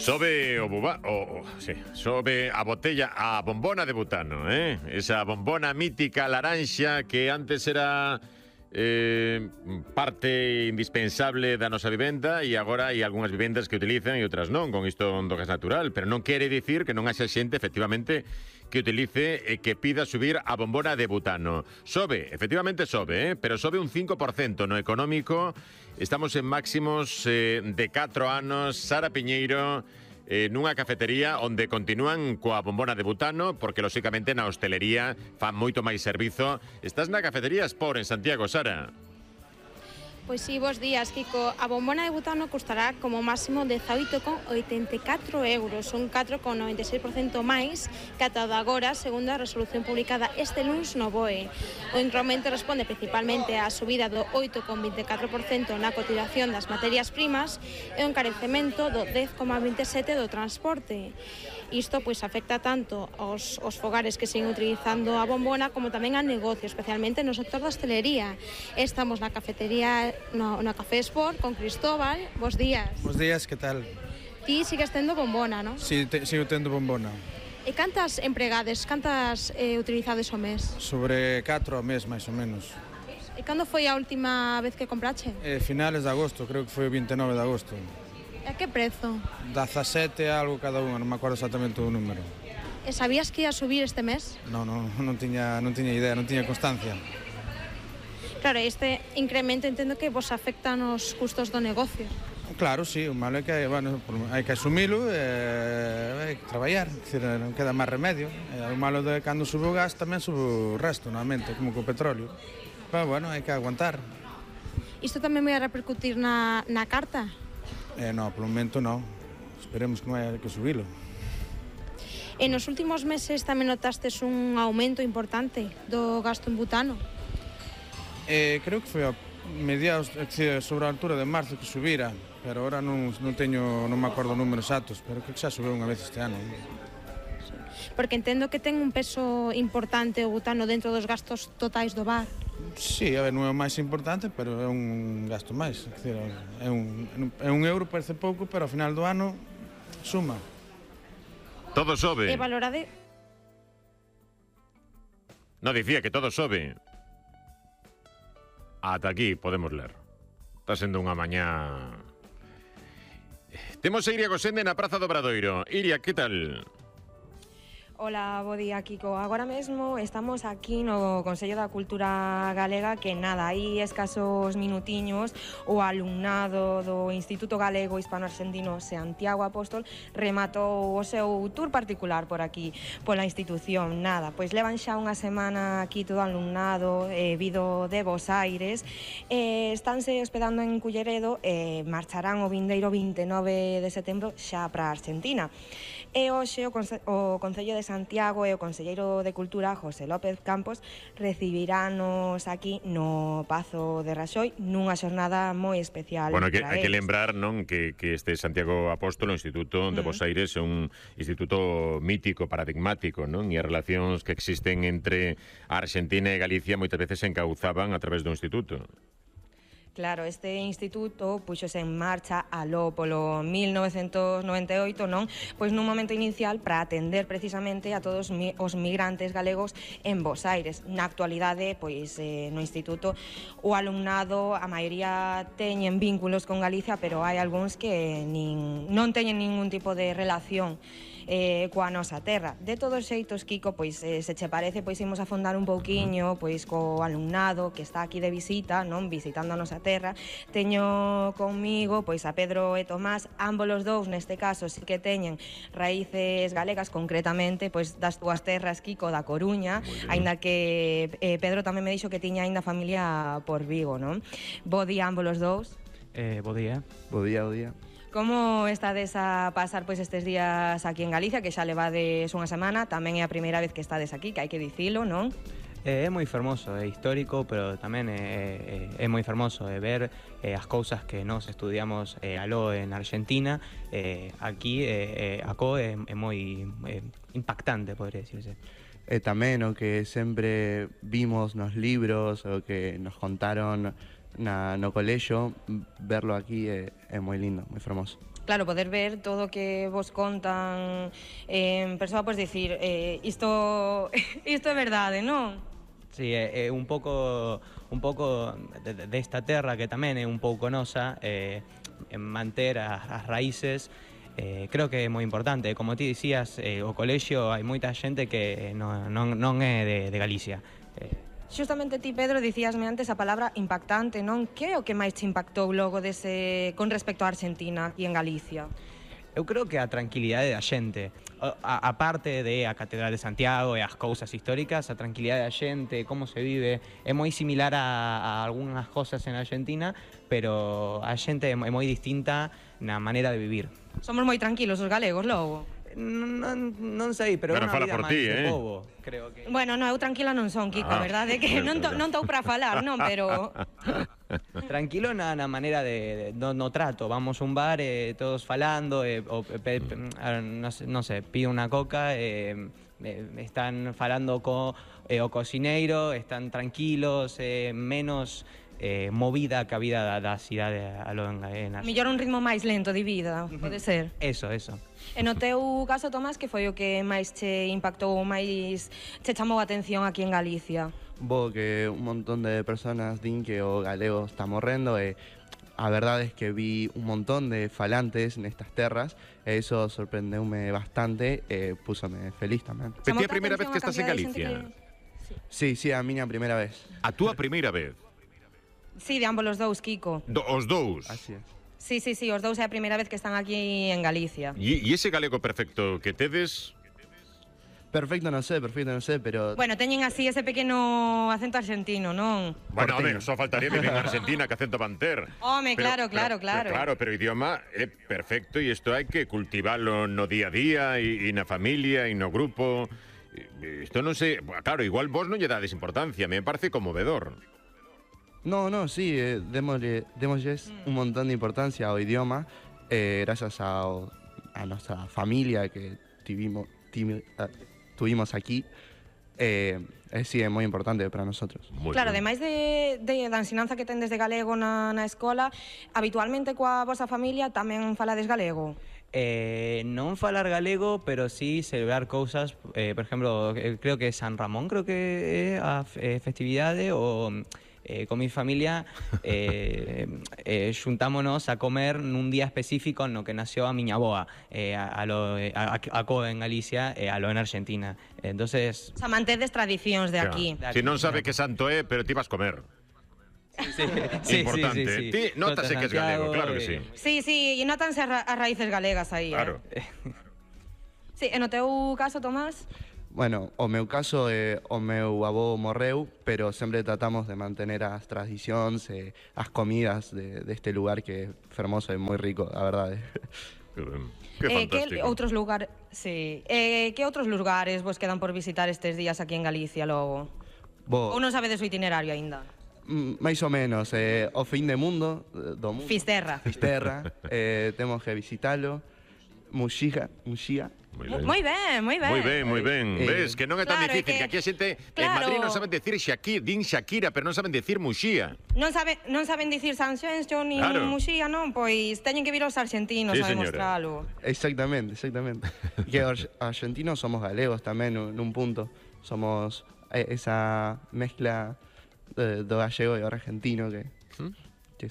Sobe sobe a botella, a bombona de butano, esa bombona mítica laranxa que antes era parte indispensable da nosa vivenda e agora hai algunhas vivendas que utilizan e outras non, con isto do gas natural, pero non quere dicir que non haxa xente efectivamente que utilice e que pida subir a bombona de butano. Sobe, efectivamente sobe, pero sobe un 5% no económico. Estamos en máximos de 4 anos. Sara Piñeiro, nunha cafetería onde continúan coa bombona de butano, porque lóxicamente na hostelería fan moito máis servizo. Estás na cafetería Sport en Santiago, Sara. Pois sí, bos días, Kiko. A bombona de butano custará como máximo 18,84 euros, son 4,96% máis que ata de agora, segundo a resolución publicada este luns no BOE. O incremento responde principalmente á subida do 8,24% na cotización das materias primas e o encarecemento do 10,27% do transporte. Isto pois afecta tanto aos fogares que siguen utilizando a bombona como tamén a negocio, especialmente no sector da hostelería. Estamos na cafetería, na Café Sport, con Cristóbal. Bos días. Bos días, que tal? Ti sigues tendo bombona, non? Si, sigo tendo bombona. E cantas empregades, cantas utilizades ao mes? Sobre 4 ao mes, máis ou menos. E cando foi a última vez que comprache? Finales de agosto, creo que foi o 29 de agosto. E a que prezo? 17 algo cada unha, non me acordo exactamente o número. E sabías que ia subir este mes? Non tiña idea, non tiña constancia. Claro, este incremento entendo que vos afecta nos custos do negocio. Claro, sí, o malo é que hai que asumilo e hai que traballar, decir, non queda máis remedio. O malo de cando sube o gas tamén sube o resto, normalmente, como co petróleo. Pero bueno, hai que aguantar. Isto tamén vai a repercutir na carta? No, polo momento non. Esperemos que non hai que subilo. E nos últimos meses tamén notastes un aumento importante do gasto en butano? Creo que foi a mediados, sobre a altura de marzo que subira, pero ahora non me acordo números exactos, pero creo que xa subeu unha vez este ano. Porque entendo que ten un peso importante o butano dentro dos gastos totais do bar. Sí, a ver, non é o máis importante, pero é un gasto máis. É un euro, parece pouco, pero ao final do ano suma. Todo sobe. E valorade... No, dicía que todo sobe. Ata aquí podemos ler. Está sendo unha mañá... Temos a Iria Gosende na Praza do Obradoiro. Iria, que tal? Hola, bo día, Kiko. Agora mesmo estamos aquí no Consello da Cultura Galega, que nada, hai escasos minutiños o alumnado do Instituto Galego Hispano-Argentino Santiago Apóstol rematou o seu tour particular por aquí, pola institución. Nada, pois levan xa unha semana aquí todo alumnado vido de Bos Aires, estánse hospedando en Culleredo e marcharán o vindeiro 29 de setembro xa para a Argentina. E hoxe o Concello de Santiago e o Conselleiro de Cultura, José López Campos, recibirános aquí no Pazo de Raxoi nunha xornada moi especial. Bueno, hai que lembrar, non, que este Santiago Apóstolo, o Instituto de Bos Aires, é un instituto mítico, paradigmático, non? E as relacións que existen entre a Argentina e Galicia moitas veces se encauzaban a través do instituto. Claro, este instituto puxose en marcha aló polo 1998, non? Pois nun momento inicial para atender precisamente a todos os migrantes galegos en Bos Aires. Na actualidade, pois no instituto o alumnado, a maioría teñen vínculos con Galicia, pero hai algúns que non teñen ningún tipo de relación coa nosa terra. De todos xeitos, Kiko, pois se che parece, pois imos afondar un pouquiño pois co alumnado que está aquí de visita, non, visitando a nosa terra. Teño conmigo pois a Pedro e Tomás, ambos os dous neste caso sí que teñen raíces galegas, concretamente pois das túas terras, Kiko, da Coruña, aínda que Pedro tamén me dixo que tiña aínda familia por Vigo, non? Bo día ambos os dous. Bo día. Bo día, bo día. Como estades a pasar pois estes días aquí en Galicia, que xa levades unha semana, tamén é a primeira vez que estades aquí, que hai que dicilo, non? É moi fermoso, é histórico, pero tamén é moi fermoso ver as cousas que nós estudiamos aló en Argentina, aquí acó é moi impactante, podría decirse. E tamén o que sempre vimos nos libros, o que nos contaron no colexo, verlo aquí é moi lindo, moi fermoso. claro, poder ver todo o que vos contan en persoa, pois dicir, isto é verdade, non? Sí, é un pouco desta terra que tamén é un pouco nosa, en manter as raíces. Creo que é moi importante. Como ti dicías, o colexio hai moita xente que non é de Galicia. Xustamente ti, Pedro, dicíasme antes a palabra impactante, non? Que é o que máis te impactou logo con respecto á Argentina aquí en Galicia? Eu creo que a tranquilidade da xente, a parte de a Catedral de Santiago e as cousas históricas, a tranquilidade da xente, como se vive, é moi similar a algunhas cosas en Argentina, pero a xente é moi distinta na maneira de vivir. Somos moi tranquilos os galegos, logo. Non sei, pero é unha fala vida por máis ti, de pobo, creo que. Bueno, eu tranquila non son, Kiko, verdade? Que non estou para falar, non, pero... Tranquilo na maneira no trato. Vamos a un bar, todos falando, non sei, pido unha coca, están falando o cocineiro, están tranquilos, menos movida que a vida da cidade en Mellor un ritmo máis lento de vida, pode ser. Eso. E no teu caso, Tomás, que foi o que máis che impactou, máis che chamou a atención aquí en Galicia? Que un montón de personas din que o galego está morrendo e a verdade é que vi un montón de falantes nestas terras e iso sorprendeume bastante e púsome feliz tamén. Pero ti a primeira vez que estás en Galicia? Sí, a miña primeira vez. A túa primeira vez? Sí, de ambos os dous, Kiko. Os dous? Así é. Sí, os dous é a primeira vez que están aquí en Galicia. E ese galego perfecto que tedes? Perfecto, non sei, pero... Bueno, teñen así ese pequeno acento argentino, non? Bueno, a ver, só faltaría que en Argentina que acento van ter. Home, claro. Pero o idioma é perfecto e isto hai que cultivalo no día a día e na familia e no grupo. Isto non sei... Claro, igual vos non lle dades importancia, me parece conmovedor. No, sí, démosles un montón de importancia ao idioma, gracias a nuestra familia que tuvimos aquí, sí, é moi importante para nosotros. Claro, ademais da ensinanza que tendes de galego na escola, habitualmente coa vosa familia tamén falades galego? Non falar galego, pero sí celebrar cousas, por exemplo, creo que San Ramón, creo que é a festividade, ou... con mi familia xuntámonos a comer nun día específico no que nació a miña aboa, acó en Galicia e alo en Argentina. Entonces, o sea, mantedes tradicións de aquí. Si non sabe que santo é, pero ti vas comer. Sí. Importante. Sí. Ti notase que es galego, claro que sí. Sí, e notanse as raíces galegas aí. Claro. Sí, e no teu caso, Tomás? Bueno, o meu caso, o meu avó morreu, pero sempre tratamos de mantener as tradicións e as comidas deste lugar que é fermoso e moi rico, a verdade. Que fantástico. Que outros lugares vos quedan por visitar estes días aquí en Galicia logo? Ou non sabedes o itinerario aínda? Mais ou menos, o fin de mundo, do mundo. Fisterra, temos que visitalo. Muxía. Moi ben. Ves, que non é tan Claro, difícil, que aquí a xente en claro. Madrid non saben decir Shakira, pero non saben decir Muxía. Non saben dicir Sanxenxo ni Claro. Muxía, non? Pois teñen que vir os argentinos Sí, a señora. demostralo. Exactamente. Que os argentinos somos galegos tamén nun punto. Somos esa mezcla do gallego e o argentino que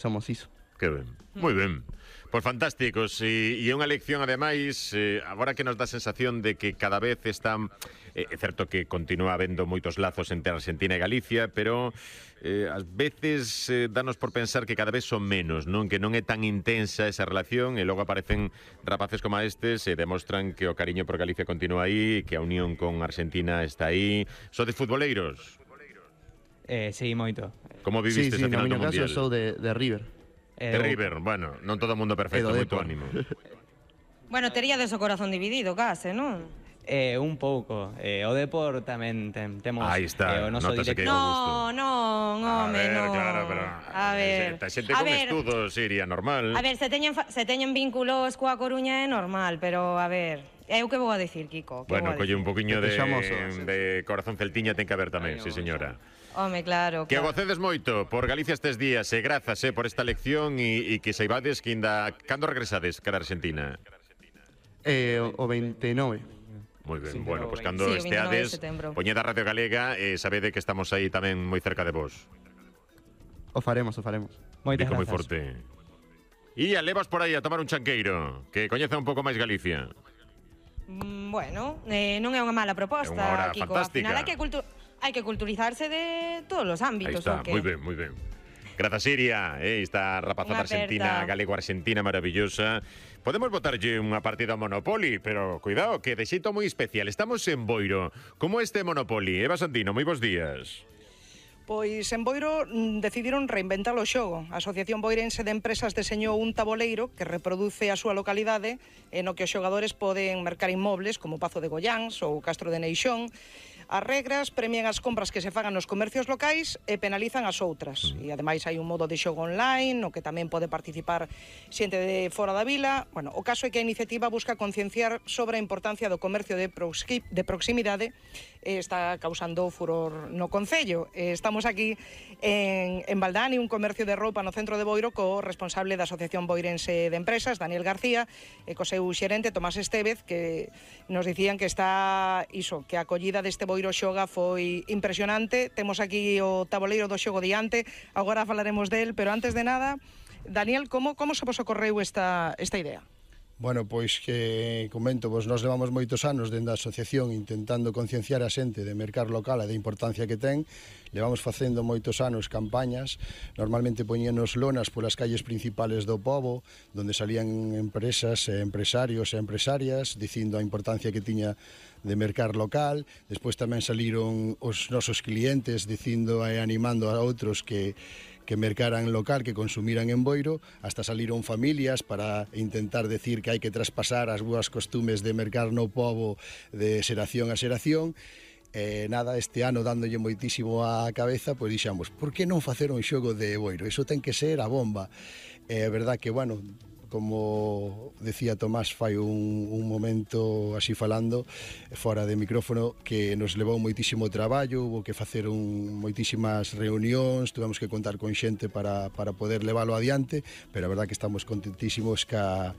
somos iso. Que ben, moi ben. Pois fantásticos, e é unha lección ademais, agora que nos dá a sensación de que cada vez están, é certo que continúa habendo moitos lazos entre Argentina e Galicia, pero ás veces danos por pensar que cada vez son menos, non? Que non é tan intensa esa relación e logo aparecen rapaces como estes e demostran que o cariño por Galicia continúa aí, que a unión con Argentina está aí. Sodes futboleiros? Sí, moito. Como viviste esa final do no Mundial? caso sou de River. De River, bueno, non todo o mundo perfecto, moito ánimo. Bueno, teríades o corazón dividido, case, non? Un pouco. O Depor tamén temos Aí está, o noso notase que directo. Non, home, non. Claro, pero... A ver, xente con estudos iría normal. A ver, se teñen vínculos coa Coruña é normal, pero a ver, eu que vou a decir, Kiko? Bueno, colle un poquinho Que te llamo, de corazón celtiña ten que haber tamén, sí señora. Home, claro. Que gocedes moito por Galicia estes días e grazas por esta lección e que saibades que ainda... Cando regresades cara a Argentina? O 29. Moi ben, Sí, bueno, pero pois cando Sí, o 29 de esteades, setembro. poñed a Radio Galega e sabede que estamos aí tamén moi cerca de vos. O faremos. Moitas Dico moi grazas. forte. E levas por aí a tomar un chanqueiro, que coñeza un pouco máis Galicia. Bueno, non é unha mala proposta, É unha hora Kiko. fantástica. Al final hai que culturizarse de todos os Aí ámbitos, está, o que? moi ben, moi ben. Grazas, Iria, esta rapazada Unha aperta. argentina, galego-argentina maravillosa. Podemos botarlle unha partida ao Monopoly, pero cuidado, que de xeito moi especial. Estamos en Boiro. Como este Monopoly? Eva Santino, moi bons días. Pois en Boiro decidiron reinventar o xogo. A Asociación Boirense de Empresas deseñou un taboleiro que reproduce a súa localidade e no que os xogadores poden mercar inmobles como o Pazo de Goiáns ou o Castro de Neixón. As regras premian as compras que se fagan nos comercios locais e penalizan as outras. E ademais hai un modo de xogo online no que tamén pode participar xente de fora da vila. Bueno, o caso é que a iniciativa busca concienciar sobre a importancia do comercio de proximidade e está causando furor no concello. Estamos aquí en Valdani, un comercio de roupa no centro de Boiro, co responsable da Asociación Boirense de Empresas, Daniel García, e co seu xerente, Tomás Estevez, que nos dicían que está iso, que a acollida deste Boiro Xoga foi impresionante. Temos aquí o taboleiro do xogo diante, agora falaremos del, pero antes de nada, Daniel, como se vos ocorreu esta idea? Bueno, pois que comento, vos nós levamos moitos anos dentro da asociación intentando concienciar a xente de mercar local e da importancia que ten. Levamos facendo moitos anos campañas, normalmente poñíanos lonas polas calles principales do pobo, donde salían empresas, empresarios e empresarias dicindo a importancia que tiña de mercar local. Despois tamén saliron os nosos clientes dicindo e animando a outros que mercaran local, que consumiran en Boiro, hasta saliron familias para intentar decir que hai que traspasar as boas costumes de mercar no pobo de xeración a xeración. Nada, este ano dándolle moitísimo á cabeza, pois dixamos, por que non facer un xogo de Boiro? Iso ten que ser a bomba. É verdad que, bueno, como decía Tomás fai un momento así falando fora de micrófono, que nos levou moitísimo traballo, hubo que facer moitísimas reunións, tuvemos que contar con xente para poder leválo adiante, pero a verdad que estamos contentísimos ca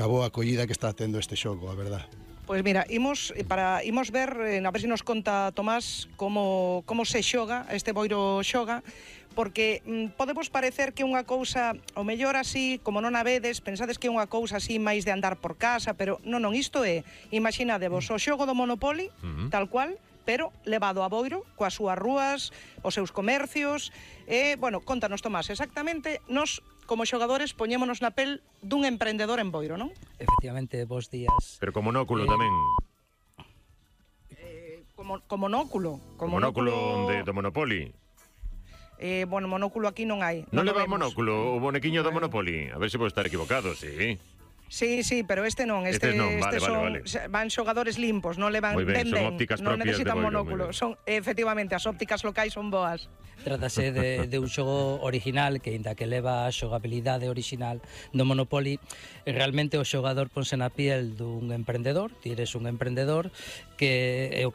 boa acollida que está tendo este xogo, a verdad. Pois mira, imos ver, a ver se nos conta Tomás como se xoga, este Boiro Xoga, porque podemos parecer que unha cousa, o mellor así, como non a vedes, pensades que é unha cousa así máis de andar por casa, pero non, isto é, imaginadevos o xogo do Monopoly, tal cual, pero levado a Boiro, coas súas rúas, os seus comercios, bueno, contanos Tomás, exactamente, nos como xogadores poñémonos na pel dun emprendedor en Boiro, non? Efectivamente, bons días. Pero con monóculo tamén. Como monóculo. Monóculo do Monopoly. Bueno, monóculo aquí non hai. Non leva monóculo o bonequiño do Monopoly? A ver se pode estar equivocado, sí. Sí, pero este non, Este non, vale, son, van xogadores limpos, non levan, moi ben, son ópticas non propias necesitan de Boiro, monóculo, son efectivamente as ópticas locais son boas. Trátase de un xogo original que, inda que leva a xogabilidade original do Monopoly, realmente o xogador ponse na piel dun emprendedor, ti eres un emprendedor que é o